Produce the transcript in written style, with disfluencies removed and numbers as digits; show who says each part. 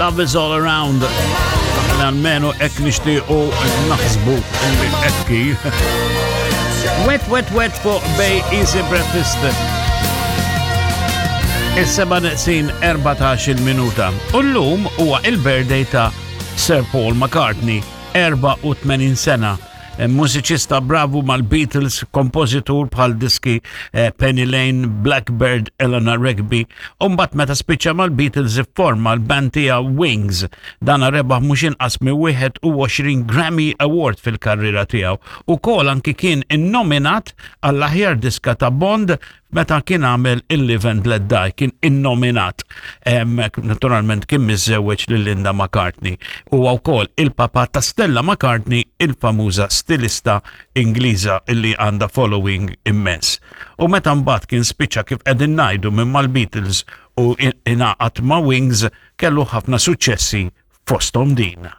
Speaker 1: Love is all around. Almenu hekk nixtiequ naħsbu li ekki. Wet, wet, wet fuq Bay Easy Breakfast. Is-seba' neqsin 14 minuta. U llum huwa il-birthday ta' Sir Paul McCartney, 84 sena. Eh, mużiċista bravu mal-Beatles, kompożitur bħal diski eh, Penny Lane, Blackbird, Eleanor Rigby, u mbagħad meta spiċċa mal-Beatles ifforma l-band tiegħu Wings. Dana rebaħ mhux inqas minn 21 Grammy Award fil-karriera tiegħu. Ukoll anki kien innominat għall-aħjar diska ta' Bond meta kien għamel il-Live and Let Die, kien innominat. Naturalment kien miżżewweġ lil Linda McCartney. Huwa wkoll il-papa ta' Stella McCartney, il-famuża stilista Ingliża illi għandha following immens. U meta mbagħad kien spiċċa kif qegħdin ngħidu minn mal-Beatles u ingħaqad ma' Wings kellu ħafna suċċessi fosthom din.